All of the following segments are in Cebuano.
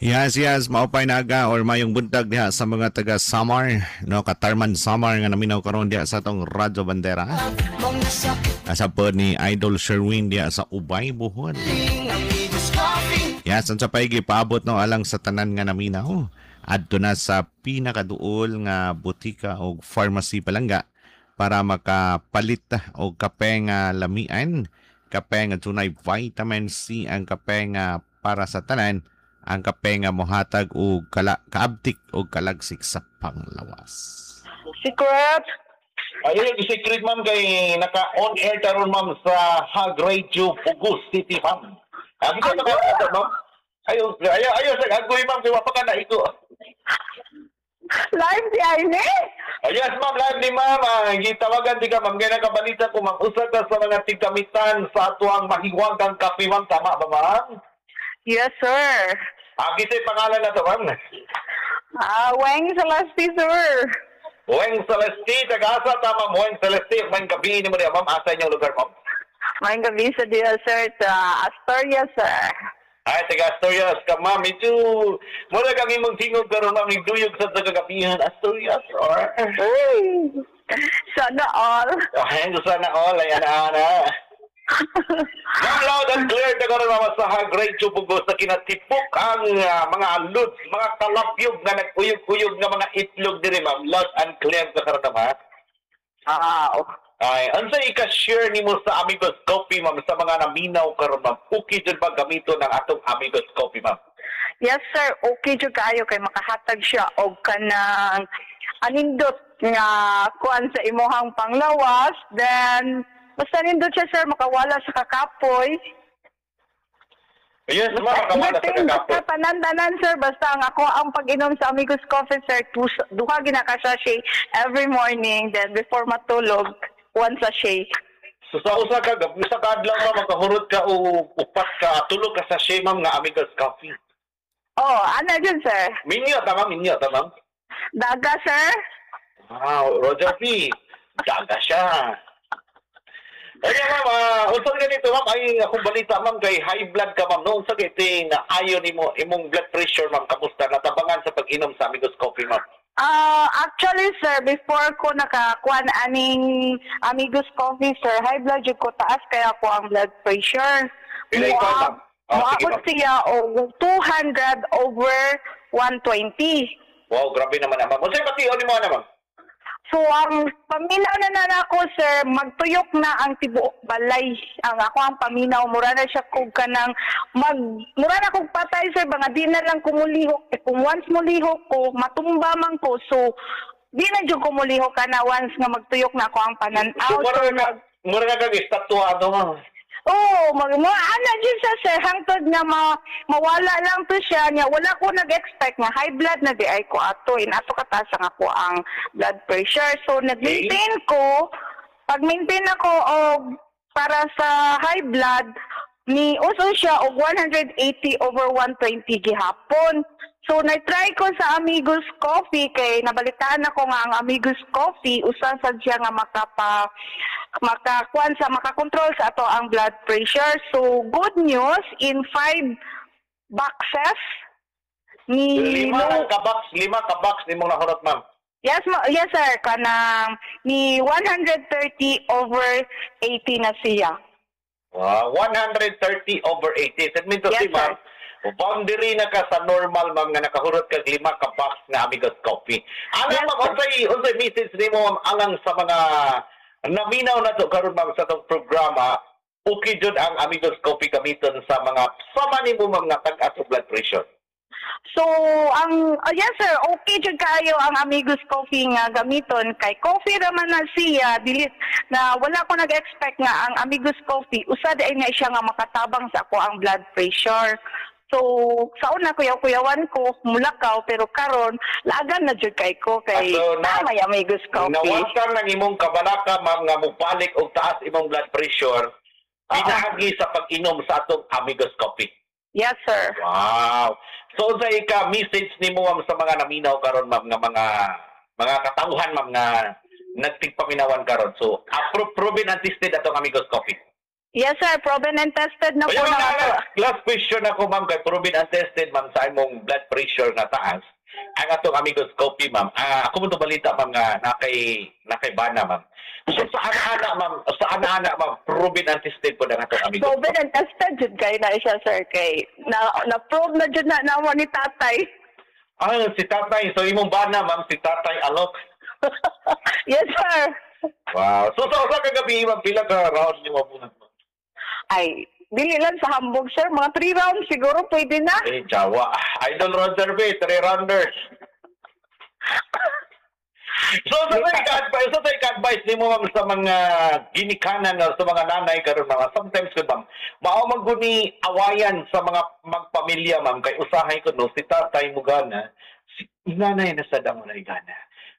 Yes, maupay na aga or mayong buntag diha sa mga taga Samar, no, Katarman Samar nga naminaw karon diha sa atong Radyo Bandera. Asa po ni Idol Sherwin diha sa Ubay, Bohol. Yes, ang sa paigi paabot, no, alang sa tanan nga naminaw. Adto na sa pinakaduol nga botika o pharmacy, palangga, para makapalit og kape nga lamian, kape nga dunay vitamin C, ang kape nga para sa tanan, ang kape nga mohatag og kala, kaabtik og kalagsik sa panglawas. Secret? Ayun yung secret, ma'am, kay naka-on air karon, ma'am, sa Hag Radio Bogo City, ma'am. Ang ito naka ma'am. Ayo, ayo, ayo sa agoy, ma'am, kay wa pa ka na ito. Live diay ni? Yes, ma'am, live ni ma'am. Gitawagan di ka, ma'am, kay nakabalita ko, ma'am, usa ka sa mga tigkamitan sa atuang mahiwagang kape, ma'am. Tama ba, ma'am? Yes, sir. Kinsay pangalan na to, ma'am? Weng Celeste, sir. Weng Celeste, taga-asa ta, ma'am, Weng Celeste? May gabi ni mo diya, ma'am. Asa inyong lugar, ma'am? May gabi sa diya, sir. Sa Astoria, sir. Ay, taga Asturias ka, ma'am. Medyo, mura kang imong tingog karon, ma'am. Nagduyog sa kagabihan. Asturias, or? Uy! Sana all. Ay, sana all. Ay, ana, ana. Ma'am, loud and clear ta karon, ma'am, sa Hag Radio Bogo sa kinatipok ang mga lods, mga kalabyog nga nagkuyog-kuyog nga mga itlog diri, ma'am. Loud and clear ka karon, ma'am, ha? Ah. Ay, unsa ika-share nimo sa Amigos Coffee, ma'am, sa mga naminaw karon, ma'am? Okay jud ba gamiton ang atong Amigos Coffee, ma'am? Yes, sir. Okay jud kaayo kay makahatag siya og kanang anindot nga kuan sa imuhang panglawas. Then, basta nindot siya, sir, makawala sa kakapoy. Yes, ma'am, makawala sa Everything, kakapoy. basta tanan-tanan, sir. Basta ang ako ang pag-inom sa Amigos Coffee, sir, duha gina ka sachet every morning. Then, before matulog, one sachet. So sa usa ka adlaw, ma'am, makahurot ka o upat ka, tulo ka sachet, ma'am, nga Amigos Coffee? Oh, ano yun, sir? Minyo ta, ma'am, minyo ta, ma'am. Daga, sir? Wow, Roger P. Daga siya. Kaya ma'am, unsa ganito, ma'am, ay akong balita, ma'am, kay high blood ka, ma'am, no, unsa kay na ayo nimo imong blood pressure, ma'am, kamusta natabangan sa pag-inom sa Amigos Coffee, ma'am? Actually, sir, before ko nakakuan aning Amigos Coffee, sir, high blood jud ko, taas kaya ko ang blood pressure. Pila ikaw, ma'am? Oh, sige, Moabot ma'am. siya og 200 over 120. Wow, grabe naman na, ma'am. Unsay bation nimo ana, ma'am? So, ang paminaw na na nako, sir, magtuyok na ang tibuok balay. Ang ako ang paminaw, mura na siya kog kanang mura na kog patay, sir, ba nga di na lang ko mulihok. Eh, kung once mulihok ko, matumba man ko. So, di na jud ko mulihok ka na once nga magtuyok na ako ang pananaw. So, mura na kag estatwa ato, ma'am. Oo, mag mo ana jud siya, sir, hangtod nga mawala lang to siya niya. Wala ko nag-expect nga high blood na di ay ko ato in ato kataas ang ako ang blood pressure. So nag-maintain ko, pag maintain ako og para sa high blood ni uso siya og 180 over 120 gihapon. So na-try ko sa Amigos Coffee kay nabalitaan ako nga ang Amigos Coffee usa sad siya nga makakuan sa makakontrol sa ato ang blood pressure. So good news, in five boxes ni Lima lang ka box, lima ka box nimong nahurot, ma'am? Yes, sir, kanang ni 130 over 80 na siya. Wow, 130 over 80. That means to Yes, say, ma'am, boundary na ka sa normal, ma'am, nga nakahurot kag lima ka box nga Amigos Coffee. Alam, Yes, ma'am, sir. unsay message nimo, ma'am, alang sa mga naminaw na to karon, ma'am, sa tong programa, okay jud ang Amigos Coffee gamiton sa mga sama nimo, ma'am, nga tag-as og blood pressure? So, yes, sir, okay jud kaayo ang Amigos Coffee nga gamiton kay coffee raman na siya, dili na wala ko nag-expect nga ang Amigos Coffee usa di ay nga siya nga makatabang sa ako ang blood pressure. So, sa una kuyaw-kuyawan ko, mulakaw, pero karon laagan na jud kay ko kay Ah, so, tama yung Amigos Coffee. Nawatan ng imong kabalaka, ma'am, nga mobalik og taas imong blood pressure pinaagi sa pag-inom sa atong Amigos Coffee? Yes, sir. Wow. So unsa ika message nimo, ma'am, sa mga naminaw karon, ma'am, nga mga katawhan, ma'am, nga nagtigpaminawan karon? So approve, proven and tested atong Amigos Coffee. Yes, sir. Proven and tested na po Kaya na ma'am, ato. Last question ako, ma'am, kay proven and tested, ma'am, sa imong blood pressure nga taas. Ang atong Amigos Coffee, ma'am. Ako mo to balita, ma'am, nga nakay bana, ma'am. So sa ana-ana, ma'am, sa ana-ana, ma'am, proven and tested po ng atong Amigos Proven and tested jud kay na siya, sir. Kay na prove na jud na namo ni tatay. Ah, si tatay. So imong bana, ma'am, si Tatay Alok. Yes, sir. Wow. So sa usa ka gabi, ma'am, pila ka round niyo mabunot, ma'am? Ay, dili lang sa hambog, sir. Mga 3 rounds siguro pwede na. Eh, jawa. Idol Roger B, three rounders. So, sa advice nimo, ma'am, sa mga ginikanan o sa mga nanay karon, mga sometimes ko, ma'am, mao man gud ni awayan sa mga magpamilya, ma'am, kay usahay ko no si tatay mo gana, si nanay na sad ang walay gana.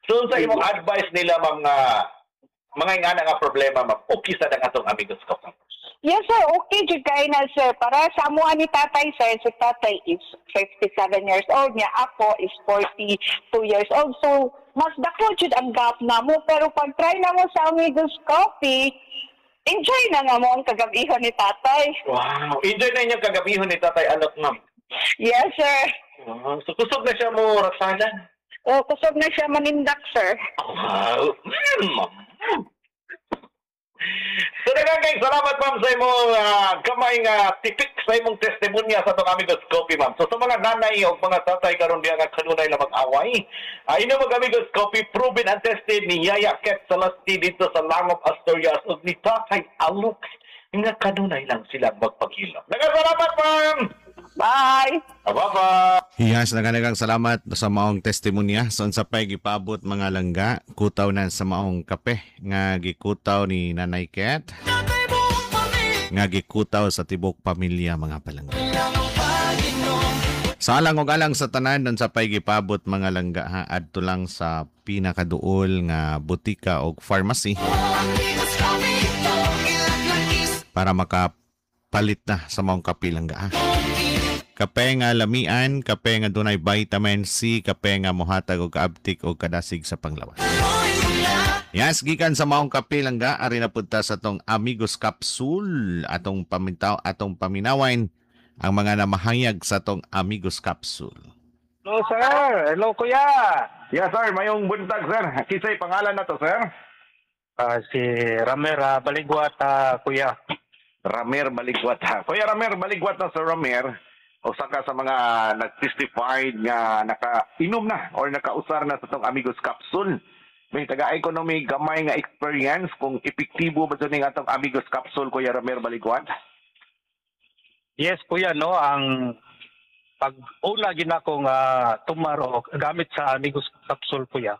So sa imong advice nila, ma'am, nga mga ingana nga problema, ma'am, okay sa ang atong Amigos Coffee? Yes, sir. Okay jud kay na, sir. Para sa amo ni tatay, sir, si tatay is 57 years old niya. Ako is 42 years old. So, mas dako jud ang gap namo. Pero pag try na mo sa Amigos Coffee, enjoy na nga mo ang kagabihon ni tatay. Wow, enjoy na inyong kagabihon ni Tatay Alok, ma'am. Yes, sir. Wow. So kusog na siya mo rasalan. O, kusog na siya manindak, sir. Wow. So daghang salamat, ma'am, sa imong gamay nga tipik sa imong testimonya sa atong Amigos Coffee, ma'am. So sa mga nanay o mga tatay karon diya nga kanunay lang mag-away, ay ino mag Amigos Coffee, proven and tested ni Yaya Ket Salasti dito sa Langop, Asturias ug ni Tatay Alok nga kanunay lang sila magpaghilom. Daghang salamat, ma'am. Bye! Bye-bye. Yes, naganagang salamat sa maong testimonya. So, unsa pa'y gipabot, mga langga, kutaw na sa maong kape nga gikutaw ni Nanay Ket nga gikutaw sa tibok pamilya, mga palangga. Sa alang og alang sa tanan, unsa pa'y gipabot, mga langga, ha, adto lang sa pinakaduol nga butika og pharmacy para makapalit na sa maong kape, langga, ha. Kape nga lamian, kape nga dunay vitamin C, kape nga mohatag og kaabtik og kadasig sa panglawas. Yes, gikan sa maong kape, langga, ari na punta sa tong Amigos Capsule, atong pamintaw, atong paminawan ang mga namahayag sa tong Amigos Capsule. Hello, sir. Hello, kuya. Yes, sir, mayong buntag, sir. Kinsay pangalan na to, sir? Si Ramer Baligwat, kuya. Ramer Baligwat. Kuya Ramer Baligwat na, Sir Ramer. Usa ka sa mga nag-testified nga naka-inom na or nakausar na sa tong Amigos Capsule. May taga economy gamay nga experience kung epektibo ba ning atong Amigos Capsule, Kuya Ramer Baligwat. Yes, kuya, no, ang pag una ginako nga tumaro gamit sa Amigos Capsule, kuya.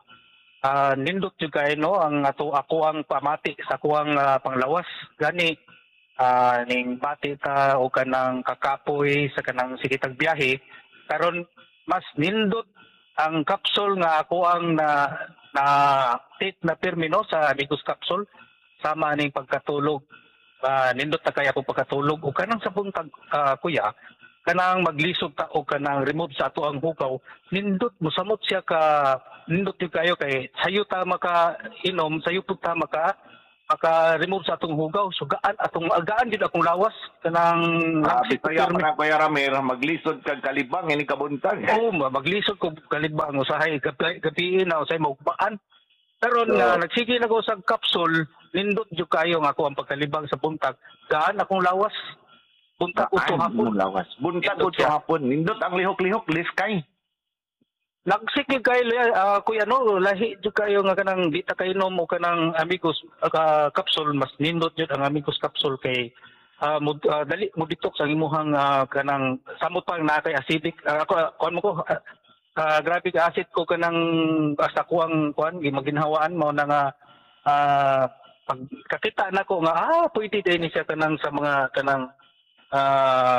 Nindot jud kay no ang ato ako ang pamati sa kuang panglawas gani ning bati ta o kanang kakapoy sa kanang sige tag biyahe karon, mas nindot ang capsule nga ako ang na na take na pirmi no sa Amigos Capsule sama ning pagkatulog. Nindot na kaya ako pagkatulog o kanang sa buntag, kuya, kanang maglisod ta o kanang remove sa ato ang hugaw, nindot mosamot siya ka, nindot yung kayo kay sayo ta maka inom, sayo pud ta maka maka remove sa atong hugaw, so gaan atong agaan gid akong lawas kanang Grabe langsig ko kaya pirmi. Pa na, Kuya Ramer, maglisod kag kalibang ini kabuntag. Oo, maglisod ko kalibang usahay gabi, gabi na usahay maugmaan. Pero nga nagsige na ko sa capsule, nindot jud kayo nga ako ang pagkalibang sa buntag. Gaan akong lawas. Buntag uto Gaan hapon. mo lawas. Buntag Nindot uto siya. hapon. Nindot ang lihok-lihok, liskay. Lagsik gyud kayo, kuya no, lahi jud kayo nga kanang di ta kainom o kanang Amigos Capsule, mas nindot jud ang Amigos Capsule kay dali mo detox ang imuhang kanang samot pa na kay acidic. Ako kuan mo ko grabe ka acid ko kanang basta kuang kuan maginhawaan mo na nga pag kakita na ko nga pwede din ni siya kanang sa mga kanang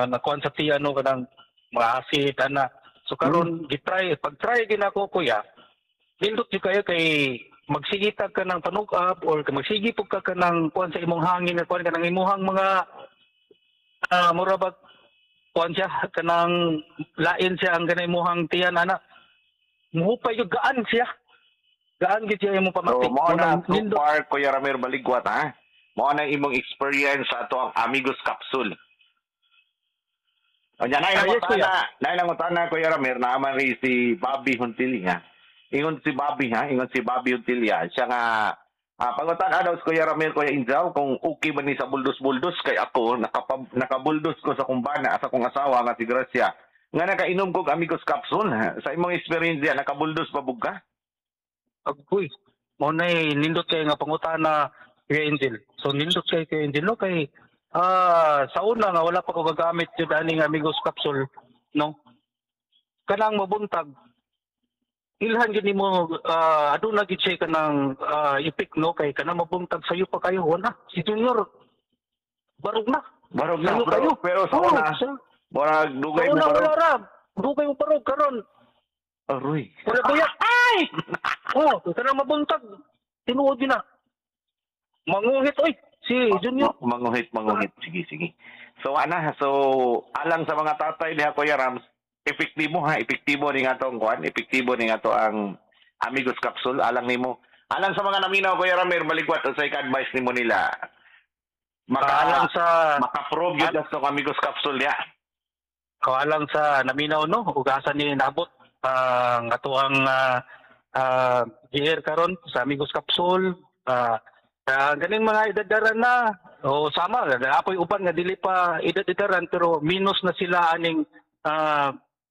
nakuan sa tiyan no kanang mga acid ana. So karon gitry pag try ginako, kuya, nindot jud kayo kay magsigitag ka ng panug-up or magsigi pug ka kanang kuan sa imong hangin nga kuan kanang imuhang mga mura ba kuan siya kanang lain siya ang kanang imuhang tiyan ana, muhupay jud, gaan siya, gaan gid siya imong So, pamati. mo na Munang so nindot. far, Kuya Ramer Baligwat, ha? Mao na imong experience sa ato ang Amigos Capsule. O nya nay Ah, yes, kuya. Nay nangutana, Kuya Ramir, naaman rin si Bobby Huntilia. Ingon si Bobby ha, ingon si Bobby Huntilia. Siya nga pangutan daw si Kuya Ramir, Kuya Injaw, kung okay ba ni sa buldos-buldos kay ako nakabuldos ko sa kumbana sa akong asawa nga si Gracia nga nakainom kog Amigos Capsule. Sa imong experience diya, nakabuldos pa bug ka? Agoy. Mao na nindot kay nga pangutana, Kuya Angel. So nindot kay Kuya Angel no kay sa una nga wala pa ko gagamit jud aning Amigos Capsule no. Kanang mabuntag ilhan gid nimo aduna gid siya kanang effect no kay kanang mabuntag sayo pa kayo wala si Junior barog na. Barog na, Sayo pero, kayo. pero sa Oo, una, murag dugay sa mo una barog. wala ra dugay mo barog karon. Aroy. Wala kuya. Ay! Oh, kanang mabuntag tinuod yun na. Manguhit oy si Junior. Manguhit, manguhit. Sige, sige. So, ana, so, alang sa mga tatay niya, Kuya Rams, epektibo ha, epektibo ni nga tong kuan, epektibo ni nga to ang Amigos Capsule, alang nimo. Alang sa mga naminaw, Kuya Ramir, maligwat, unsay ka-advice nimo nila? Maka, Alang sa maka-prove yun tong Amigos Capsule niya. Alang sa naminaw no ug asa ni nabot ang atoang GR karon sa Amigos Capsule ganing mga edadaran na o sama apoy uban nga dili pa edad-edaran pero minus na sila aning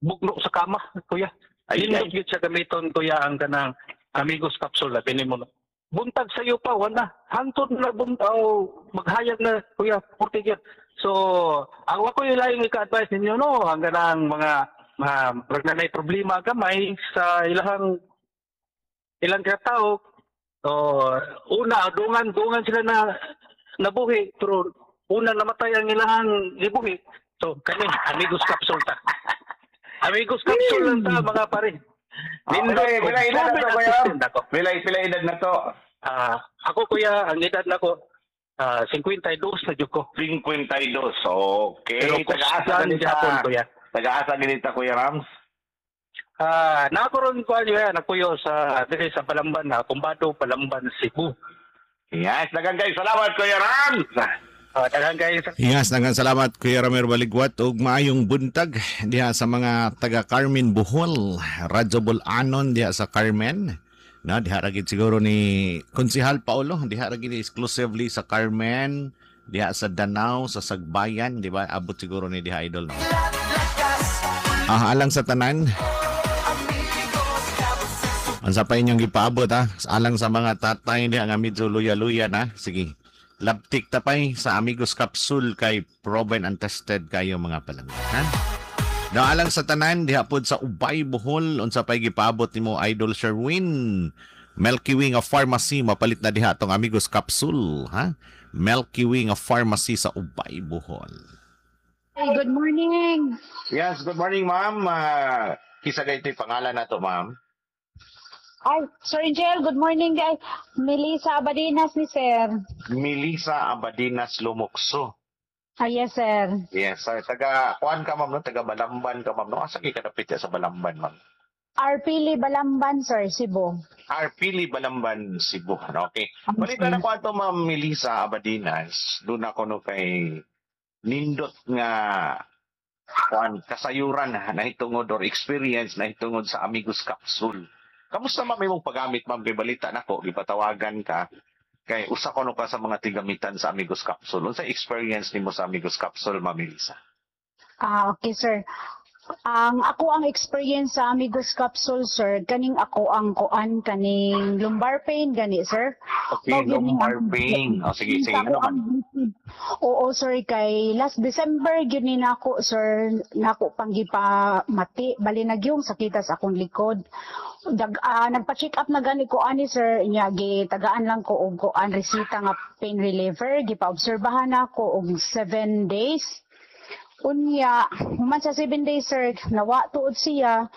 bugno sa kama, kuya. Ay, Nindot ay. gyud siya gamiton, kuya, ang kanang Amigos Capsule labi nimo no. Buntag sayo pa wala hantod na buntag maghayag na, kuya, porte gyud. So ang ako yung laing ika-advise ninyo no ang kanang mga mga murag na problema gamay sa ilahang ilang katao. So una dungan dungan sila na nabuhi pero una namatay ang ilahang gibuhi. So kani Amigos Capsule ta. Amigos Capsule lang ta, mga pare. Pila, pila edad na to, Kuya Ram? Assistant ako. Pila, pila edad na to? Ako kuya, ang edad nako 52 na jud ko. 52. Okay. Pero Taga-asa kusgan ganita. gyapon, kuya. Taga-asa ganita, Kuya Rams? Nako ron ko kuya, nakuyo sa diri sa Palamban na Kumbado, Palamban, Cebu. Yes, daghang kayo. Salamat, Kuya Rams! Daghan kayo sa Yes, daghang salamat, Kuya Ramir Baligwat, ug maayong buntag diha sa mga taga Carmen Bohol, Radyo Bulanon diha sa Carmen. No, diha ra gid siguro ni Konsehal Paulo, diha ra gid exclusively sa Carmen, diha sa Danao, sa Sagbayan, di ba? Abot siguro ni diha, idol. No? Alang sa tanan. Unsa pa inyong gipaabot ha? Alang sa mga tatay diha nga medyo luya-luya na. Sige. Labtik tapay sa Amigos Capsule kay proven and tested kayo, mga palangga. Ha? Now, alang sa tanan diha pod sa Ubay Bohol, unsa pay gipaabot nimo, Idol Sherwin? Milky Way nga Pharmacy, mapalit na diha tong Amigos Capsule, ha? Milky Way nga Pharmacy sa Ubay Bohol. Hey, good morning. Yes, good morning, ma'am. Kisa kay ito'y pangalan na to, ma'am? Ay, Sir Angel, good morning guys. Melissa Abadinas ni sir. Melissa Abadinas Lumokso. Ah, yes, sir. Yes, sir. Taga, kuan ka, ma'am, no? Taga Balamban ka, ma'am, no? Asa kay kadapit ya sa Balamban, ma'am? Arpili Balamban, sir, Cebu. Arpili Balamban, Cebu. Okay. Balita na ko ato, ma'am Melissa Abadinas. Doon ako no kay nindot nga kuan kasayuran nahitungod or experience nahitungod sa Amigos Capsule. Kamusta, ma'am, imong paggamit, ma'am, kay balita nako gipatawagan ka kay usa ko no ka sa mga tigamitan sa Amigos Capsule. Unsa experience nimo sa Amigos Capsule, ma'am Melissa? Ah, okay, sir. Ang ako ang experience sa Amigos Capsule, sir, kaning ako ang kuan kaning lumbar pain gani, sir. Okay, Mao gyud ni lumbar pain. O sige, sige, Ako ano man? Oo, sir, kay last December gyud ni nako, sir, nako pang gipamati bali nagyong sakita sa akong likod. Nagpa-check up na gani ko ani, sir, nya gitagaan lang ko og kuan resita nga pain reliever, gipa-obserbahan nako og 7 days. Unya, human sa 7 days, sir, nawa tuod siya.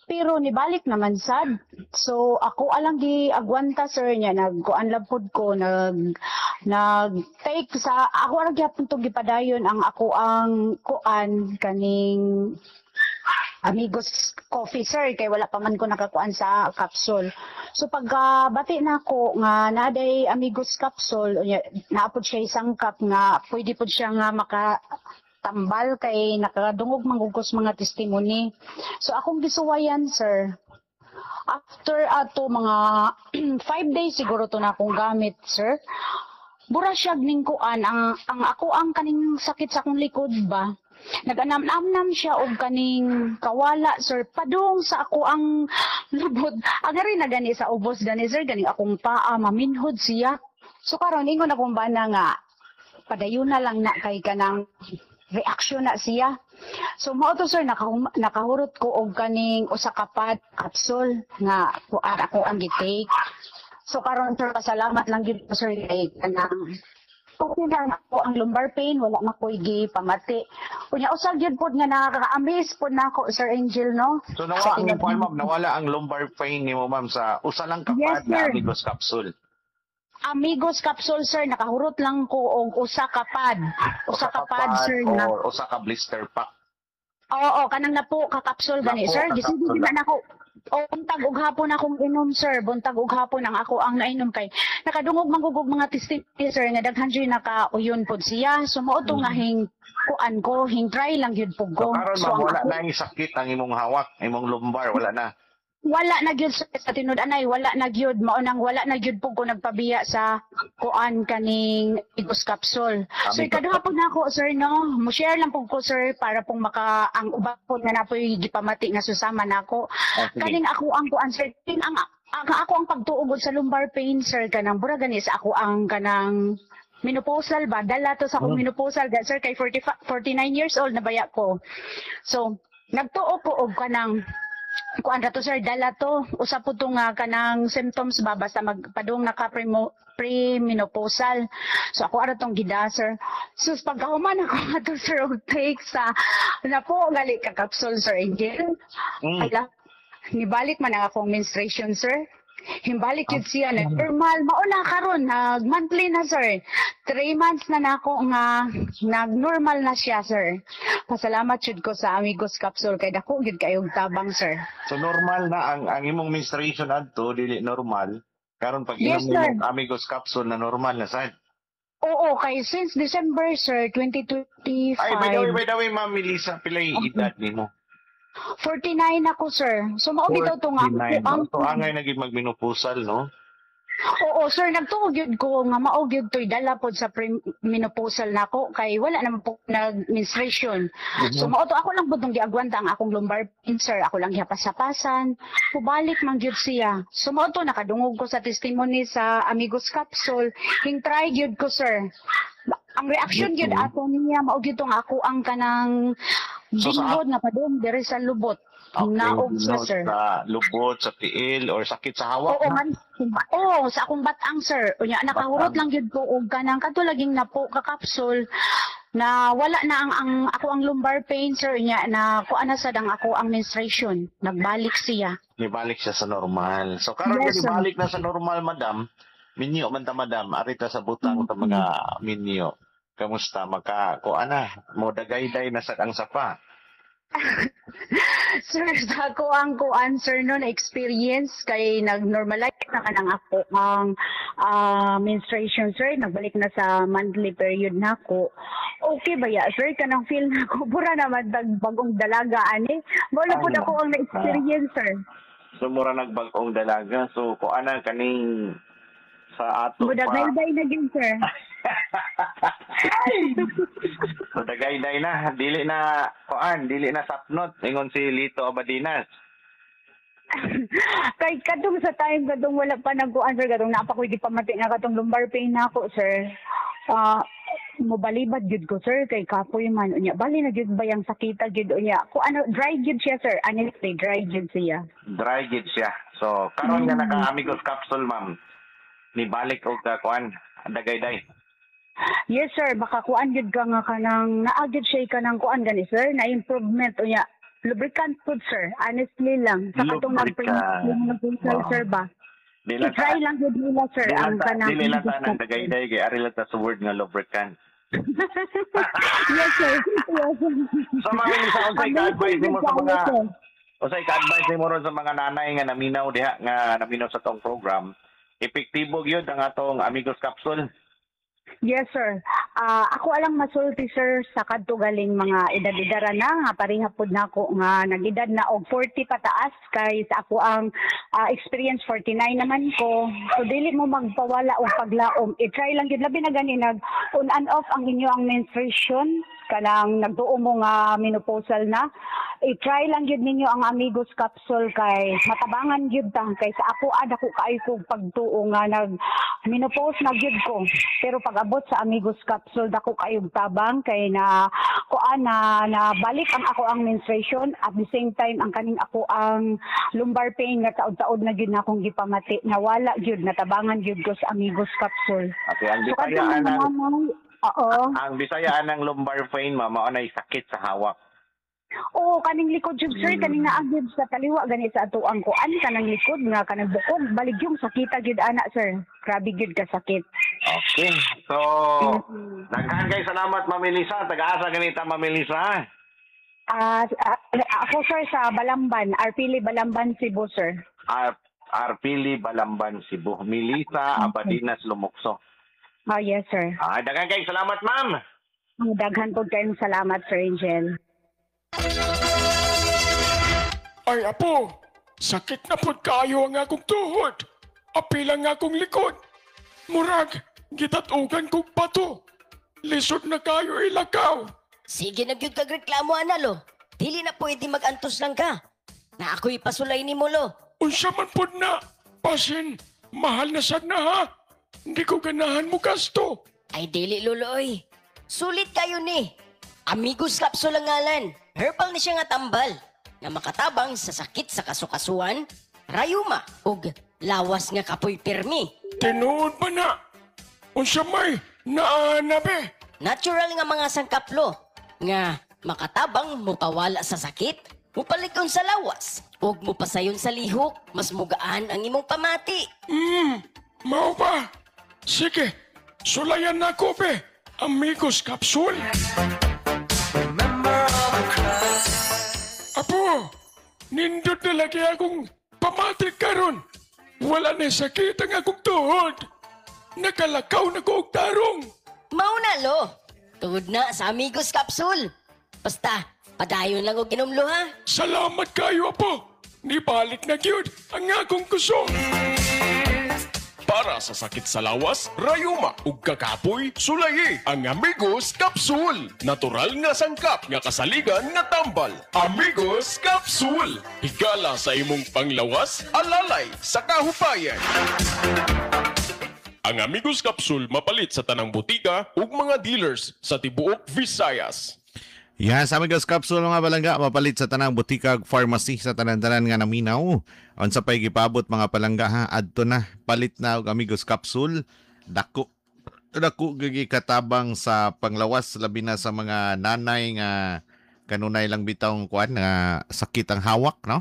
Pero nibalik naman sad. So ako alang gi agwanta, sir, niya nagkuan lang pud ko nag nag take sa ako ra gyapon to gipadayon ang ako ang kuan kaning Amigos coffee, sir, kay wala pa man ko nakakuan sa capsule. So pagka bati na ako nga naday Amigos capsule, unya naapod siya isang cup nga pwede pod siya nga maka tambal kay nakadungog manggugos mga testimony. So akong gisuwayan, sir, after ato mga 5 days siguro to na akong gamit, sir. Bura siya ning kuan ang ako ang kaning sakit sa akong likod ba. Naganam-namnam siya og kaning kawala, sir, padung sa ako ang lubot. Ang ari na gani sa ubos gani, sir, ganing akong paa maminhod siya. So karon ingon akong bana nga padayon na lang na kay kanang reaksyon na siya. So mao to, sir, nakahurot ko og kaning usa ka pad capsule nga kuan ako ang gi-take. So karon, sir, pasalamat lang gyud ko, sir, kay kanang okay na ako ang lumbar pain, wala na ko'y gipamati. Unya usa gyud pod nga nakaka-amaze pod nako, Sir Angel, no? So nawala ang kuan, ma'am, nawala ang lumbar pain nimo, ma'am, sa usa lang ka Yes, pad na sir. Amigos capsule. Amigos capsule, sir, nakahurot lang ko og usa ka pad. Usa ka pad, sir, na. Or usa ka blister pack. Oo, kanang napo ka capsule gani, Napo sir. ka Gisigi capsule. na nako. O buntag ug hapon akong inom, sir. Buntag ug hapon ang ako ang nainom kay nakadungog manggugog mga testimony, sir, nga daghan jud naka-uyon pod siya. So mao to nga hing kuan ko, hing try lang gyud pud So ko. karon, So, ma'am, ang wala ako- na yung sakit ang imong hawak, imong lumbar, wala na. Wala na gyud, sir, sa tinud anay, wala na gyud. Mao nang wala na gyud pud ko nagpabiya sa kuan kaning Amigos capsule. So Amigos. ikaduha pud nako, sir, no. Mo share lang pud ko, sir, para pong maka ang uban pud nga napoy gipamati nga susama nako. Ah, sige. Kaning ako ang kuan, sir, king ang ako ang pagtuog sa lumbar pain, sir, kanang bura gani sa ako ang kanang menopausal ba, dala to sa akong menopausal ga, sir, kay 45 49 years old na baya ko. So nagtuo ko og kanang kuan ra to, sir, dala to usa po to nga kanang symptoms ba basta magpadung naka premenopausal. So ako ara tong gida, sir. Sus, pagkahuman ako ato, sir, og take sa napo gali ka capsule, Sir Angel, ala, nibalik man ang akong menstruation, sir. Himbalik yun siya na normal. Mauna karon nag monthly na, sir. 3 months na nako nga nag-normal na siya, sir. Pasalamat jud ko sa Amigos capsule kay dako gyud kayong tabang, sir. So normal na ang imong menstruation adto dili normal. Karon pag Yes, inom sir. nimo Amigos capsule na normal na sad. Oo, kay since December, sir, 2025. Ay, by the way, Ma'am Melissa, pilay edad nimo? 49 ako, sir. So mao bitaw to nga 49. ang So angay na gid magmenopausal, no? Oo, sir, nagtuo gyud ko nga mao gyud to'y dala pod sa menopausal nako kay wala naman po nag-menstruation. So mao to ako lang pud tong giagwanta ang akong lumbar pain, sir. Ako lang gihapas-hapasan. Pubalik man gyud siya. So mao to nakadungog ko sa testimony sa Amigos capsule. Hing try gyud ko, sir. Ang reaction gyud ato niya mao gyud tong ako ang kanang So, binhod nga padung diri sa lubot. Naog siya, Binhod sir. sa lubot, sa tiil, or sakit sa hawak. Oo, man. Oo, sa akong batang, sir. Unya, nakahurot Batang. lang gyud ko og kanang kadto laging napo ka capsule na wala na ang ako ang lumbar pain, sir, nya na kuan na sad ang ako ang menstruation. Nagbalik siya. Nibalik siya sa normal. So karon Yes, yes, sir. nibalik na sa normal, madam. Minyo man ta, madam, arita sa butang ta mga minyo. Kamusta maka ko ana mo dagayday na sad ang sapa? Sir, sa ako ang kuan, sir, no na experience kay nag-normalize na kanang ako ang menstruation, sir, nagbalik na sa monthly period na ako. Okay ba ya, sir, kanang feel na ako pura naman tag bagong dalaga ani. Wala pud Ay, ako ang na-experience, sir. So mura nagbag-ong dalaga. So ko ana kaning sa ato pa. Mudagayday na gyud, sir. So dagayday na, dili na kuan, dili na sapnot ingon si Lito Abadinas. Kay kadtong sa time kadtong wala pa nagkuan, sir, kadtong naa pa ko'y gipamati nga katong lumbar pain nako, sir. Ah, mobalibad gyud ko, sir, kay kapoy man unya. Bali na gyud ba yang sakita gyud unya. Ko ano, dry gyud siya, sir. Honestly, dry gyud siya. Dry gid siya. So karon nga naka Amigos capsule, ma'am. Nibalik og ka kuan, dagayday. Yes, sir, makakuan gyud ka nga kanang naa gyud siya kanang kuan gani, sir, na improvement unya. Lubricant food, sir. Honestly lang. Sa katong Lubricant. nag-pre sir ba? Di lang I-try lang gyud nila, sir, Dili ang lang ta, kanang dili lang ta Amigos nang dagayday kay ari lang ta sa word nga lubricant. Yes, sir. Yes. So, Ma'am Melissa, unsay ka-advise nimo sa mga Amazing, sir. Unsay ka-advise nimo ron sa mga nanay nga naminaw diha, nga naminaw sa tong program? Epektibo gyud ang atong Amigos Capsule. Yes, sir. Ako alang masulti, sir, sa kadto galing mga edad-edara na nga pareha pud nako nga nag-edad na og 40 pataas kay sa ako ang experience 49 naman ko. So dili mo magpawala og paglaom. I-try lang gyud, labi na gani nag on and off ang inyo ang menstruation, kanang nagduo mo nga menopausal na. I-try lang gyud ninyo ang Amigos Capsule kay matabangan gyud ta, kay sa ako dako kaayo kog pagtuo nga nag menopause na gyud ko. Pero pag abot sa Amigos Capsule, dako kayog tabang kay na kuan na nabalik ang ako ang menstruation, at the same time ang kaning ako ang lumbar pain nga taod-taod na gyud na akong gipamati, nawala gyud, natabangan gyud ko sa Amigos Capsule. Okay, ang So Bisaya kadtong mga anang nanay, oo. Ang Bisaya anang lumbar pain, ma'am, mao nay sakit sa hawak. Oo, kaning likod jud, sir, kaning naa gyud sa kaliwa gani sa atuang kuan, kanang likod nga kanang bukog, balig yung sakita gyud ana, sir. Grabe gyud ka sakit. Okay. So, daghan kay salamat, Ma'am Melissa. Taga-asa ganita, Ma'am Melissa? Ako, sir, sa Balamban, Arpili Balamban, Cebu, sir. Arpili Balamban, Cebu. Melissa Abadinas Lumukso. Oh, yes, sir. Daghan kay salamat, ma'am. Daghan po kayong salamat, Sir Angel. Ay, apo, sakit na pod kaayo ang akong tuhod. Apil ang akong likod. Murag, gitatugan kog bato. Lisod na kayo ilakaw. Sige na gyud kag reklamo ana, lo. Dili na pwede mag-antos lang ka. Na ako'y pasulay nimo, lo. Unsa man pod na, pasin, mahal na sad na ha. Hindi ko ganahan mo gasto. Ay dili, lolo oy. Sulit kayo ni. Amigos Capsule ang ngalan. Herbal ni siya nga tambal na makatabang sa sakit sa kasukasuan, rayuma ug lawas nga kapoy pirmi. Tinuod ba na? Unsa may naana be? Natural nga mga sangkaplo nga makatabang mupawala sa sakit, mupalikon sa lawas, ug mupasayon sa lihok, mas mugaan ang imong pamati. Mao ba? Sige, sulayan na ko be. Amigos Capsule. Apo, nindot na lagi akong pamati karon. Wala na sakit ang akong tuhod. Nakalakaw na ko og tarong. Mao na, lo. Tugod na sa Amigos Capsule. Basta, padayon lang og ginom, lo, ha. Salamat kayo, apo. Nibalik na gyud ang akong kusog. Para sa sakit sa lawas, rayuma ug kakapoy, sulayi ang Amigos Capsule. Natural nga sangkap nga kasaligan nga tambal. Amigos Capsule. Higala sa imong panglawas, alalay sa kahupayan. Ang Amigos Capsule mapalit sa tanang butika ug mga dealers sa tibuok Visayas. Yan, sa Amigos Capsule mga palangga, mapalit sa tanang butika ug pharmacy sa tanan-tanan nga naminaw. Unsa pay gipabot mga palangga ha, adto na, palit na og Amigos Capsule. Dako dako gyud katabang sa panglawas, labi na sa mga nanay nga kanunay lang bitawng kuan nga sakit ang hawak, no?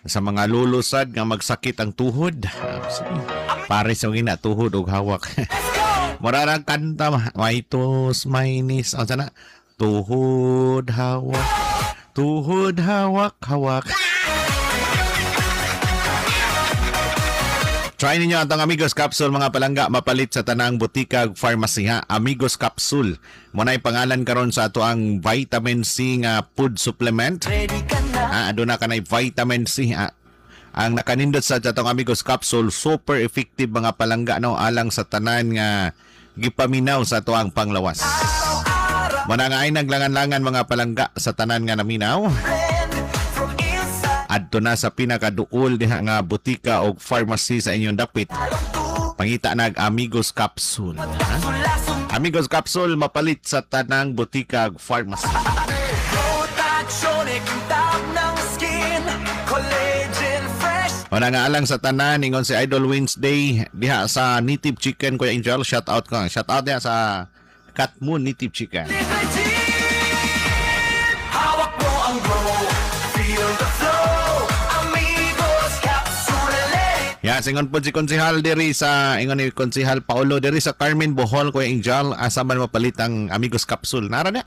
Sa mga lulusad nga magsakit ang tuhod. Pare sa gina tuhod og hawak. Mura ra kanta, may tos, may nis, unsa na? Tuhod hawak, tuhod hawak, hawak. Try ninyo ang Amigos Capsule mga palangga, mapalit sa tanang butika ug pharmacy ha. Amigos Capsule. Mo na'y pangalan karon sa ato ang vitamin C nga food supplement. Aduna kanay vitamin C ha. Ang nakanindot sa atong Amigos Capsule, super effective mga palangga, no, alang sa tanan nga gipaminaw sa ato ang panglawas. Muna nga ay naglangan-langan mga palangga sa tanan nga naminaw. Adto na sa pinakaduol diha nga butika o pharmacy sa inyong dapit. Pangita nag Amigos Capsule. Ha? Amigos Capsule mapalit sa tanang butika ug pharmacy. Wala nga alang sa tanan, ingon si Idol Wednesday diha sa Native Chicken, Kuya Angel, shout out ko. Shout out diha sa Katmon Native Chicken. Hawak mo ang glow, feel the flow, Amigos Capsule. Yan, Ya, singon po si Konsihal diri sa, ingon ni Konsihal Paolo diri sa Carmen, Bohol, Kuya Angel, asa man mapalit ang Amigos Capsule? Nara na.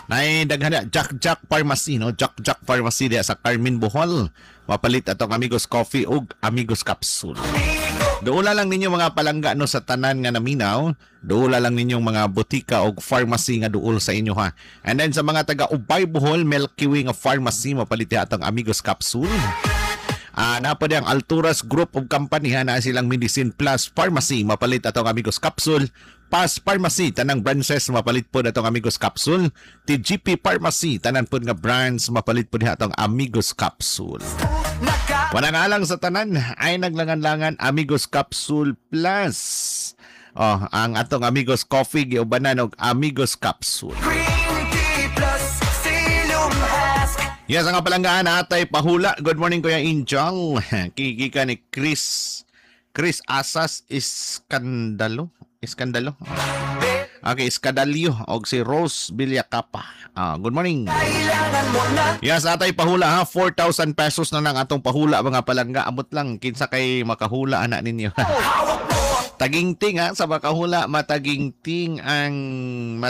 Nay daghan na Jack Jack Pharmacy, no? Jack Jack Pharmacy diya sa Carmen, Bohol. Mapalit atong Amigos Coffee ug Amigos Capsule. Duola lang ninyo, mga palangga, no, sa tanan nga naminaw. Duola lang ninyong mga botika og pharmacy nga duol sa inyo, ha. And then sa mga taga Ubay, Bohol, Milky Way nga pharmacy, mapalit diha atong Amigos Capsule. Naa pa ang Alturas Group of Company ha, na silang Medicine Plus Pharmacy, mapalit atong Amigos Capsule. Pass Pharmacy, tanang branches, mapalit po atong Amigos Capsule. TGP Pharmacy, tanan po nga branch, mapalit po diha atong Amigos Capsule. Wala nga lang sa tanan ay naglangan-langan Amigos Capsule Plus. Oh, ang atong Amigos Coffee giubanan og Amigos Capsule. Yes, ang palanggaan, atay pahula. Good morning, Kuya Injong. Kiki ni Chris Chris Asas Iskandalo. Iskandalo. Okay, Iskadalyo og si Rose Villacapa. Ah, good morning. Yes, atay pahula ha, 4,000 pesos na lang atong pahula, mga palangga. Amot lang kinsa kay makahula ana ninyo. Tagingting ha, sa makahula, matagingting ang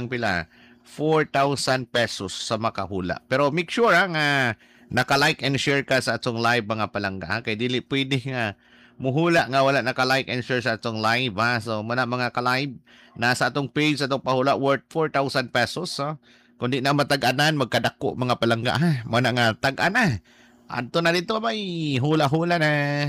pila? 4,000 pesos sa makahula. Pero make sure ha nga naka-like and share ka sa atong live, mga palangga ha, kay dili pwede nga muhula nga wala naka-like and share sa atong live ha. So muna mga ka-live, nasa atong page atong pahula worth 4,000 pesos ha. Kundi na matag-anan, magkadako, mga palangga ha. Muna nga tag-ana. Adto na dito, may hula-hula na.